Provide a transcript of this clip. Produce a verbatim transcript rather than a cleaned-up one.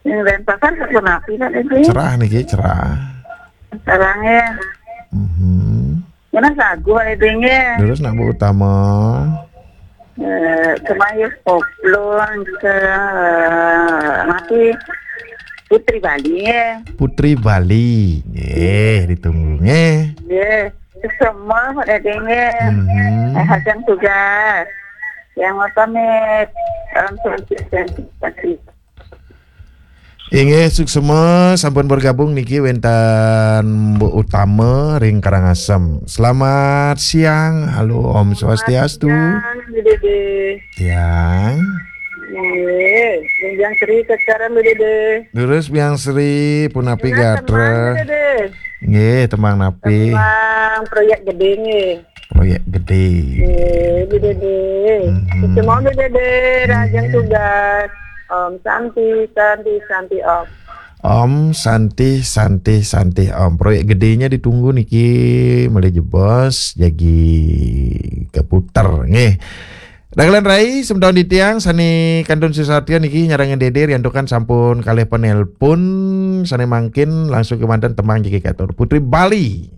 Ning Denpasar sapunapi, Pak Dede? Cerah niki, cerah. Cerah nggih. Mhm. Ngena sagu, Pak Dede, nggih. Terus nak Bu Utama? Eh, kemayu koplo ke, eh, mati Putri Bali, nggih. Putri Bali. Nggih, ditunggu nggih. Nggih. Semua, Pak Dede, nggih. Mhm. Eh, hajang tugas. Yang mau pamit. Salam sukses. Inggih, suksema sampun bergabung niki wenten Bu Utama ring Karangasem. Selamat siang. Halo, Om Swastiastu. Siang, Bu Dede. Siang. Nggih, Biang Sri sekarang, Bu Dede. Terus Biang Sri, punapi gatra? Tenang, Bu Dede. Nggih, tembang napi? Tembang proyek gede nggih. Proyek gede. Nggih, Bu Dede. Mhm. Semua Bu Dede, rajin tugas. Om Santi, Santi, Santi Om. Om Santi, Santi, Santi Om. Proyek gedenya ditunggu niki, malih jebos jagi keputer nggih. Dagelan rai, semeton titiang sane kantun sesatya niki nyarengin Dede riantukan sampun kalih penelpon sane mangkin langsung kemanten tembang jagi katur. Putri Bali.